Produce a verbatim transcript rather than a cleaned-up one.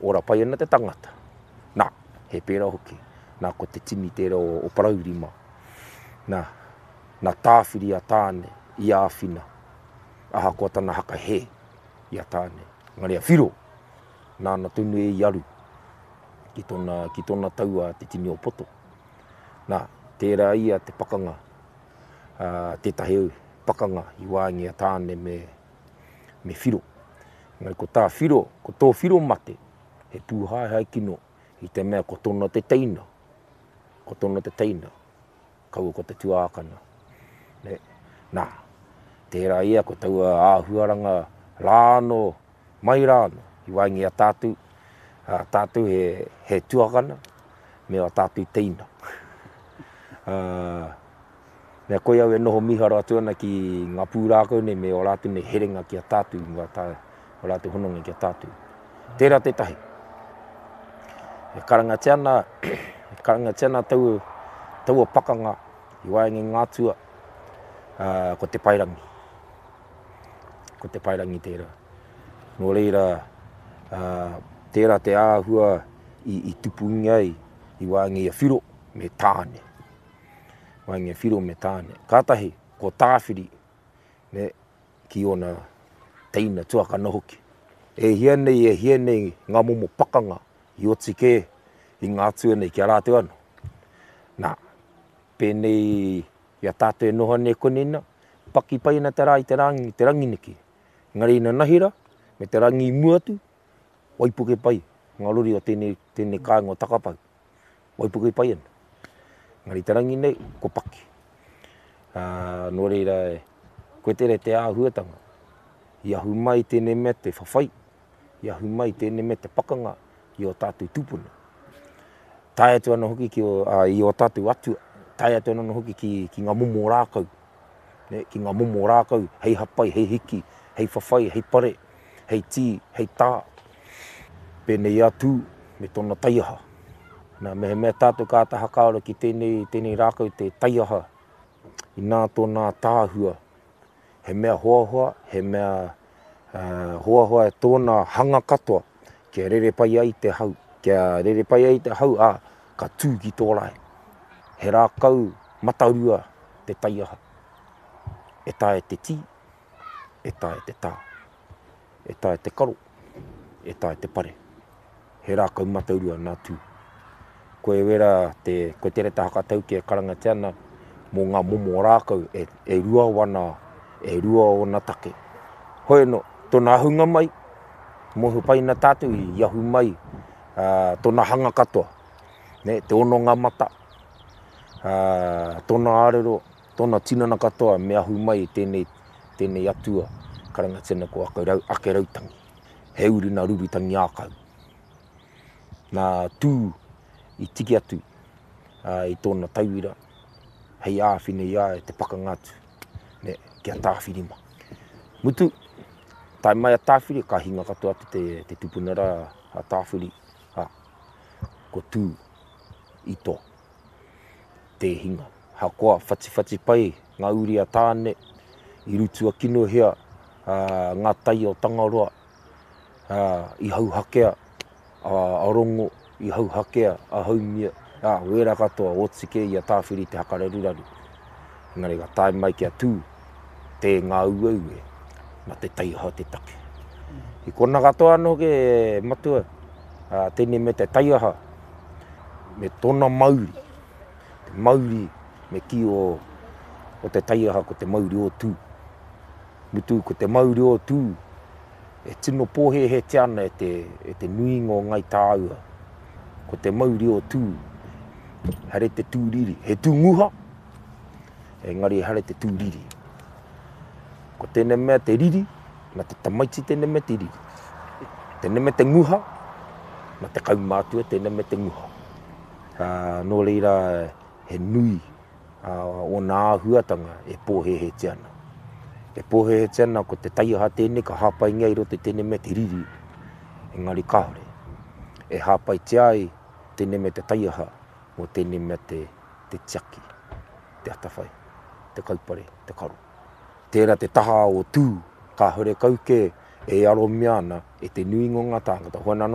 Ora pai ana te tangata. Nā, he pērā hoki. Nā, ko te tini tērā o, o Parauri mā. Nā, nā Tāwhiri a Tāne i āwhina, ahakoa tana haka hē i a Tāne. Engari a Whiro, nāna tonu e i aru ki tōna, ki tōna taua te tini o Poto. Nā, tērā ia te pakanga, ā, tētahi pakanga i waenga i a Tāne me, me Whiro. Engari ko tā Whiro, ko tō Whiro mate, he pūhaehae kino i te mea ko tōna te teina, ko tōna te teina, kaua ko te tuākana. Ne? Nā, tērā ia ko taua āhuaranga rā anō, mai rā anō, i waenga i a tātou, ā, tātou he, he tuakana, me ā tātou teina. Ā, mea koe au e noho mīharo atu ana ki ngā pūrākau nei me ō rātou nei herenga ki a tātou, ngā tā, ō rātou hononga ki a tātou. Tērā tētahi. E karangatia ana, e karangatia ana taua, taua pakanga i waenga i ngā atua, ā, ko Te Paerangi. Ko Te Paerangi tērā. Nō reira, ā, tērā te āhua i, i tupungia ai i waenga i a Whiro me Tāne. Waenga i a Whiro me Tāne. Kātahi, ko Tāwhiri, ne, ki ōna teina tuakana hoki. E hia nei, e hia nei ngā momo pakanga i oti kē i ngā atua nei ki a rātou anō. Nā, pēnei i a tātou e noho nei konei nā, paki pai ana te rā i te rangi, te rangi neki. Engari inanahi rā, me te rangi i mua atu, waipuke pai ngā rori o tēnei, tēnei kāinga o Takapau. Waipuke pai ana. Engari te rangi nei, ko paki. Ā, nō reira, koe tērā te āhuatanga. I ahu mai tēnei mea te whawhai, i ahu mai tēnei mea te pakanga i ō tātou tūpuna. Tae atu ana hoki ki ō, ā, i ō tātou atua, tae atu ana hoki ki, ki ngā momo rākau, ne, ki ngā momo rākau hei hapai, hei hiki, hei whawhai, hei pare, hei tī, hei tā. Pēnei a Tū me tōna taiaha. Nā, mehemea tātou ka āta hakaaro ki tēnei, tēnei rākau te taiaha, inā tōna ātaahua, he mea hoahoa, he mea uh, hoahoa e tōna hanga katoa, kia rere pai ai te hau, kia rere pai ai te hau, ā, ka tū ki tō rae. He rākau matarua te taiaha. E taea te tī, e taea te tā, e taea te karo, e taea te pare. He rākau matarua nā Tū. Koe wera te, koe te reta hakatauki e karangatia ana mō ngā momo rākau e, e rua wana, e rua ōna take. Hoi anō, tōna ahunga mai, mōhio pai ana tātou i ahu mai uh, tōna hanga katoa, ne, te ono ngā mata, uh, tōna ārero, tōna tinana katoa me ahu mai tēnei, tēnei atua karangatia ana ko Akerau, Akerautangi. He uri nā Rurutangi ākau. Nā Tū i tiki atu uh, i tōna tauira hei āwhina i a ia te pakanga atu, ne, ki a Tāwhirima. Mutu, tae mai a Tāwhiri, ka hinga katoa atu te, te tupuna rā a Tāwhiri, a, ko Tū i toa, tē hinga. Hakoa whatiwhati pai ngā uri a Tāne, i rutua kinohia uh, ngā tai o Tangaroa, uh, i hauhakea a, a Rongo, i hauhakea a Haumia, ā, wērā katoa, oti kē i a Tāwhiri te hakararuraru. Engari ka tae mai ki a Tū, tē ngā ueue, nā te taiaha te take. I kona katoa anō hoki e matua, ā, tēnei me te taiaha, me tōna mauri, te mauri me kī o, o te taiaha ko te mauri o Tū. Mutu ko te mauri o Tū, e tino pōhēhētia ana e te, e te nuinga o Ngāi Tāua, ko te mauri o Tū, haere te tū riri, he tū nguha, engari haere te tū riri. Ko tēnei mea te riri, na te tamaiti tēnei mea te riri. Tēnei mea te nguha, na te kaumātua tēnei mea te nguha. Ā, nō reira, he nui ōna āhuatanga e pōhēhētia ana. E pōhēhētia ana ko te taiaha tēnei ka hāpaingia i roto i tēnei mea te riri, engari kāore. E hāpaitia ai tēnei mea te taiaha mō tēnei mea te, te tiaki, te atawhai, te kaupare, te karo. Tērā te taha o Tū, kāore kau kē e aromia ana e te nuinga o ngā tāngata. Hoi anō